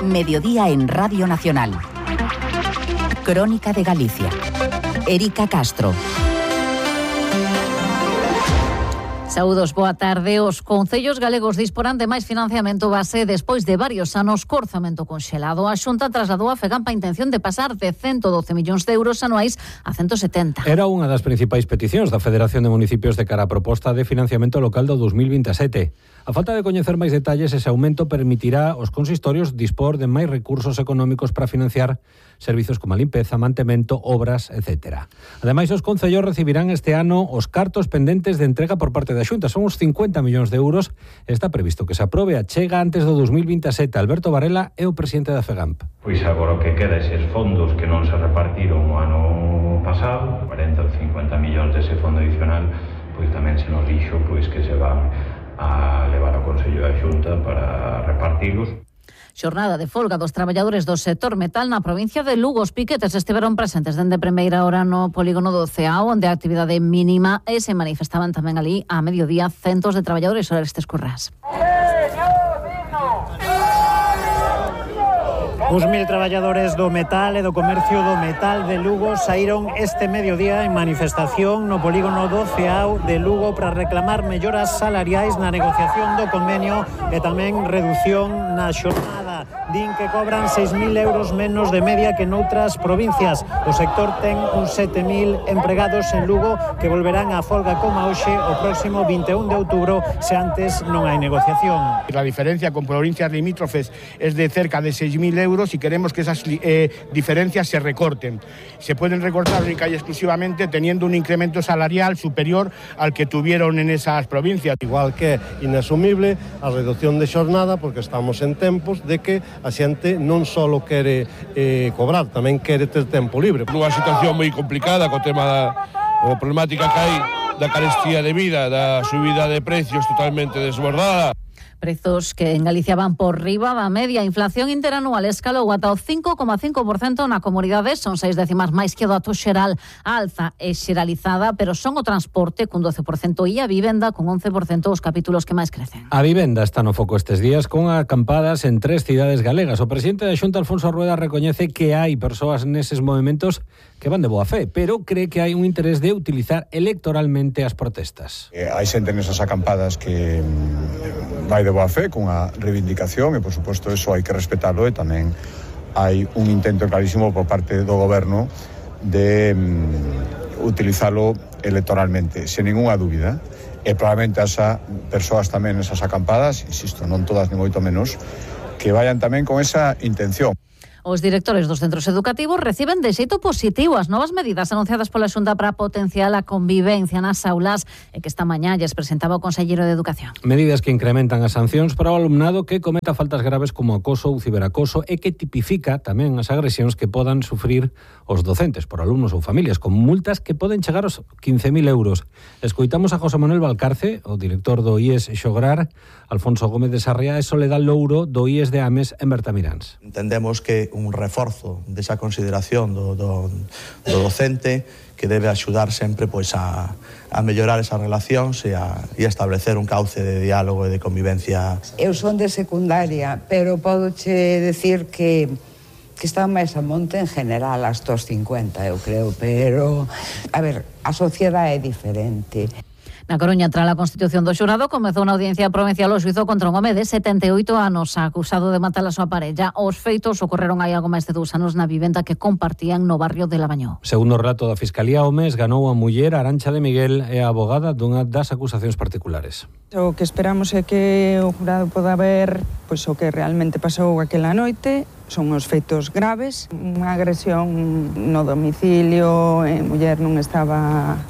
Mediodía en Radio Nacional. Crónica de Galicia. Erika Castro. Saúdos, boa tarde. Os concellos galegos disporán de máis financiamento base despois de varios anos co orzamento conxelado. A Xunta trasladou a FEGAMP a intención de pasar de 112 millóns de euros anuais a 170. Era unha das principais peticións da Federación de Municipios de cara a proposta de financiamento local do 2027. A falta de coñecer máis detalles, ese aumento permitirá aos consistorios dispor de máis recursos económicos para financiar servizos como a limpeza, mantemento, obras, etc. Ademais, os concellos recibirán este ano os cartos pendentes de entrega por parte da Xunta. Son uns 50 millóns de euros. Está previsto que se aprobe a chega antes do 2027. Alberto Varela é o presidente da FEGAMP. Pois agora o que queda eses fondos que non se repartiron o ano pasado, 40 ou 50 millóns dese fondo adicional, pois tamén se nos dixo pois que se van a levar ao Consello da Xunta para repartilos. Xornada de folga dos traballadores do sector metal na provincia de Lugo. Os piquetes estiveron presentes dende primeira hora no polígono do Ceao, onde a actividade mínima e se manifestaban tamén ali a mediodía centos de traballadores sobre estes currás. Uns 1000 traballadores do metal e do comercio do metal de Lugo saíron este mediodía en manifestación no polígono do Ceao de Lugo para reclamar melloras salariais na negociación do convenio e tamén reducción na xornada. Din que cobran 6.000 euros menos de media que noutras provincias. O sector ten uns 7.000 empregados en Lugo que volverán á folga como hoxe o próximo 21 de outubro se antes non hai negociación. La diferencia con provincias limítrofes es de cerca de 6.000 euros y queremos que esas diferencias se recorten. Se pueden recortar única y exclusivamente teniendo un incremento salarial superior al que tuvieron en esas provincias. Igual que é inasumible a reducción de xornada porque estamos en tempos de que a xente non só quere cobrar, tamén quere ter tempo libre. Unha situación moi complicada co tema da problemática que hai da carestía de vida, da subida de precios totalmente desbordada. Prezos que en Galicia van por riba da media. A inflación interanual escalou ata o 5,5% na comunidade. Son 6 décimas máis que o dato xeral. A alza é xeralizada, pero son o transporte cun 12% e a vivenda con 11% os capítulos que máis crecen. A vivenda está no foco estes días con acampadas en 3 cidades galegas. O presidente da Xunta, Alfonso Rueda, recoñece que hai persoas neses movementos que van de boa fe, pero cree que hai un interés de utilizar electoralmente as protestas. Hai xente nesas acampadas que vai de boa fe, con a reivindicación e, por suposto, eso hai que respetalo e tamén hai un intento clarísimo por parte do goberno de utilizalo electoralmente, sen ninguna dúbida. E probablemente as persoas tamén nesas acampadas, insisto, non todas ni moito menos, que vayan tamén con esa intención. Os directores dos centros educativos reciben de xeito positivo as novas medidas anunciadas pola Xunta para potenciar a convivencia nas aulas e que esta mañá lles presentaba o conselleiro de Educación. Medidas que incrementan as sancións para o alumnado que cometa faltas graves como acoso ou ciberacoso e que tipifica tamén as agresións que podan sufrir os docentes por alumnos ou familias, con multas que poden chegar aos 15.000 euros. Escoitamos a José Manuel Valcarce, o director do IES Xograr, Alfonso Gómez de Sarriá e Soledad Louro do IES de Ames en Bertamiráns. Entendemos que un reforzo desa consideración do docente que debe axudar sempre pois a mellorar esas relacións e a establecer un cauce de diálogo e de convivencia. Eu son de secundaria, pero podoche decir que está máis a monte en general hasta os 50, eu creo, pero a ver, a sociedade é diferente. Na Coruña, tras a constitución do xurado, comezou unha audiencia provincial o xuizo contra un home de 78 anos acusado de matar a súa parella. Os feitos ocorreron hai algo máis de 2 anos na vivenda que compartían no barrio de Lavañó. Segundo o relato da Fiscalía, o mes ganou a muller Arancha de Miguel e a abogada dunha das acusacións particulares. O que esperamos é que o jurado poda ver pois, o que realmente pasou aquela noite. Son os feitos graves, unha agresión no domicilio, a muller non estaba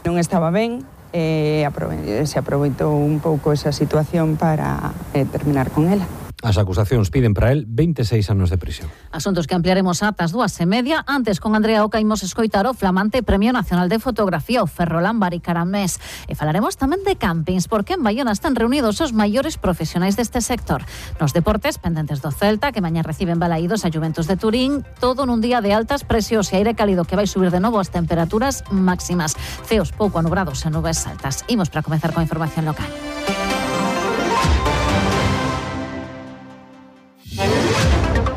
ben. Se aproveitou un pouco esa situación para terminar con ela. As acusacións piden para él 26 anos de prisión. Asuntos que ampliaremos ata as 2:30. Antes, con Andrea Oca, imos escoitar o flamante Premio Nacional de Fotografía, o Ferrolán Baricaramés. E falaremos tamén de campings, porque en Baiona están reunidos os maiores profesionais deste sector. Nos deportes, pendentes do Celta, que mañá reciben balaídos a Juventus de Turín, todo nun día de altas presións e aire cálido que vai subir de novo as temperaturas máximas. Ceos pouco anubrados e nubes altas. Imos para comezar con a información local.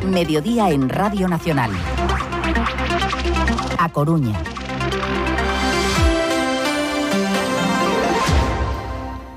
Mediodía en Radio Nacional. A Coruña.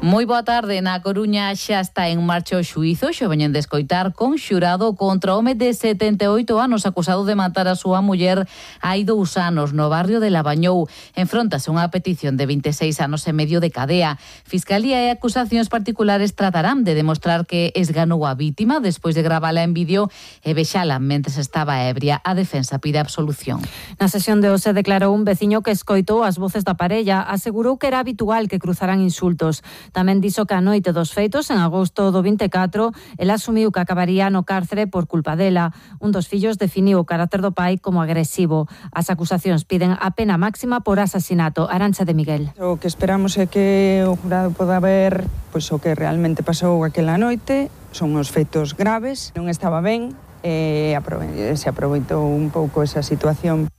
Moi boa tarde. Na Coruña xa está en marcha o xuízo, xo veñen de escoitar con xurado contra o home de 78 anos acusado de matar a súa muller hai 2 anos no barrio de Labañou. Enfróntase unha petición de 26 anos e medio de cadea. Fiscalía e acusacións particulares tratarán de demostrar que esganou a vítima despois de gravala en vídeo e vexala mentres estaba ebria. A defensa pide absolución. Na sesión de hoxe declarou un veciño que escoitou as voces da parella. Asegurou que era habitual que cruzaran insultos. Tamén dixo que a noite dos feitos, en agosto do 24, ela asumiu que acabaría no cárcere por culpa dela. Un dos fillos definiu o carácter do pai como agresivo. As acusacións piden a pena máxima por asasinato. Arantxa de Miguel. O que esperamos é que o jurado poda ver pois o que realmente pasou aquela noite. Son uns feitos graves, non estaba ben e se aproveitou un pouco esa situación.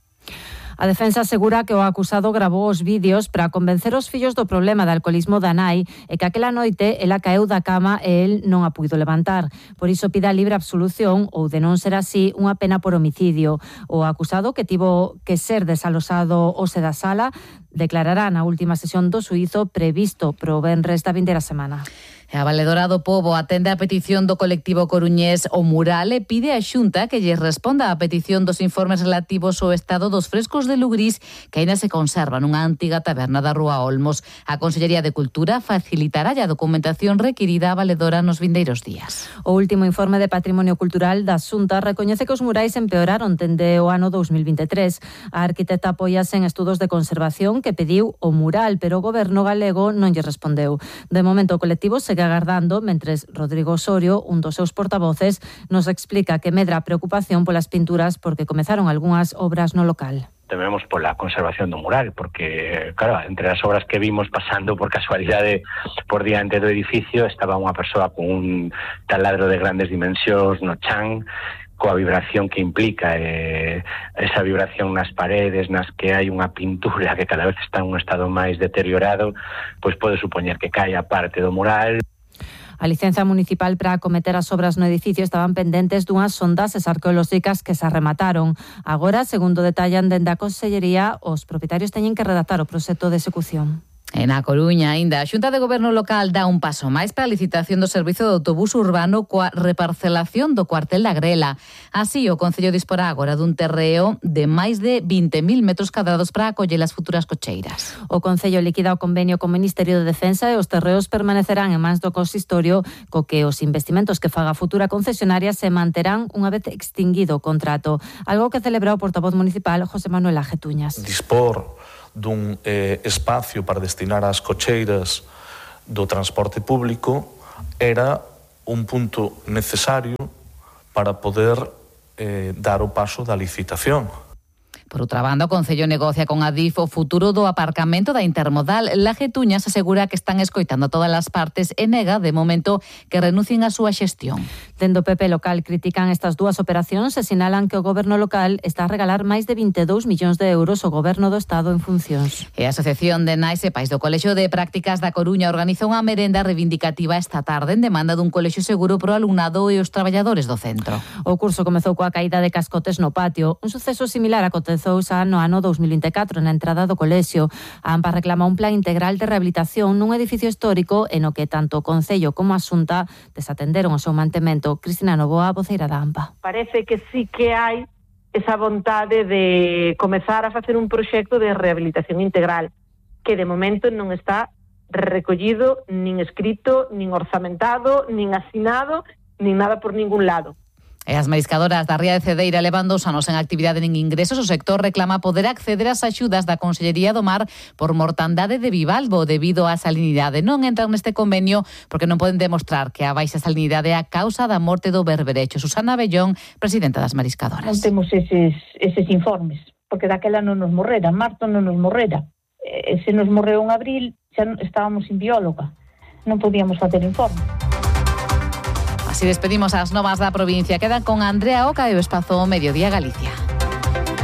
A defensa asegura que o acusado gravou os vídeos para convencer os fillos do problema de alcoholismo da nai e que aquela noite ela caeu da cama e el non a puido levantar. Por iso pide a libre absolución ou, de non ser así, unha pena por homicidio. O acusado, que tivo que ser desalosado hoxe da sala, declarará na última sesión do xuízo previsto pro venres da vindeira semana. A Valedora do Pobo atende a petición do colectivo coruñés O Mural e pide a Xunta que lle responda a petición dos informes relativos ao estado dos frescos de Lugrís que aínda se conservan nunha antiga taberna da Rúa Olmos. A Consellería de Cultura facilitará a documentación requirida a Valedora nos vindeiros días. O último informe de Patrimonio Cultural da Xunta recoñece que os murais empeoraron dende o ano 2023. A arquitecta apóiase en estudos de conservación que pediu o mural, pero o goberno galego non lle respondeu. De momento o colectivo segue agardando, mentres Rodrigo Osorio, un dos seus portavoces, nos explica que medra a preocupación polas pinturas porque comezaron algunhas obras no local. Tememos pola conservación do mural, porque, claro, entre as obras que vimos pasando por casualidade por diante do edificio estaba unha persoa con un taladro de grandes dimensións no chan, coa vibración que implica esa vibración nas paredes, nas que hai unha pintura que cada vez está en un estado máis deteriorado, pois pode supoñer que caia parte do mural. A licenza municipal para acometer as obras no edificio estaban pendentes dunhas sondaxes arqueolóxicas que se arremataron. Agora, segundo detallan dende a Consellería, os propietarios teñen que redactar o proxecto de execución. En A Coruña, aínda, a Xunta de Goberno local dá un paso máis para a licitación do servizo de autobús urbano coa reparcelación do cuartel da Grela. Así, o Concello disporá agora dun terreo de máis de 20.000 metros cadrados para acoller as futuras cocheiras. O Concello liquida o convenio co Ministerio de Defensa e os terreos permanecerán en mans do consistorio, co que os investimentos que faga a futura concesionaria se manterán unha vez extinguido o contrato, algo que celebra o portavoz municipal José Manuel Ajetuñas. Dispor dun espacio para destinar as cocheiras do transporte público era un punto necesario para poder dar o paso da licitación. Por outra banda, o Concello negocia con Adif o futuro do aparcamento da Intermodal. Lajetuñas asegura que están escoitando a todas as partes e nega, de momento, que renuncien a súa xestión. Dende o PP local critican estas dúas operacións e sinalan que o goberno local está a regalar máis de 22 millóns de euros ao goberno do Estado en funcións. E a Asociación de Nais e Pais do Colexio de Prácticas da Coruña organiza unha merenda reivindicativa esta tarde en demanda dun colexio seguro pro alumnado e os traballadores do centro. O curso comezou coa caída de cascotes no patio, un suceso similar aconteceu xa no ano 2024 na entrada do colexio. A AMPA reclama un plan integral de rehabilitación nun edificio histórico en o que tanto o Concello como a Xunta desatenderon o seu mantemento. Cristina Novoa, voceira da AMPA. Parece que sí que hai esa vontade de comezar a facer un proxecto de rehabilitación integral que de momento non está recollido, nin escrito, nin orzamentado, nin asinado, nin nada por ningún lado. E as mariscadoras da Ría de Cedeira levan 2 anos en actividade nin ingresos. O sector reclama poder acceder ás axudas da Consellería do Mar por mortandade de bivalvo debido á salinidade. Non entran neste convenio porque non poden demostrar que a baixa salinidade é a causa da morte do berberecho. Susana Bellón, presidenta das mariscadoras. Non temos eses informes, porque daquela non nos morrera, en marzo non nos morrera. Se nos morreu en abril, xa estábamos sin bióloga. Non podíamos facer informe. Así despedimos as novas da provincia. Quedan con Andrea Oca e o Espazo Mediodía Galicia.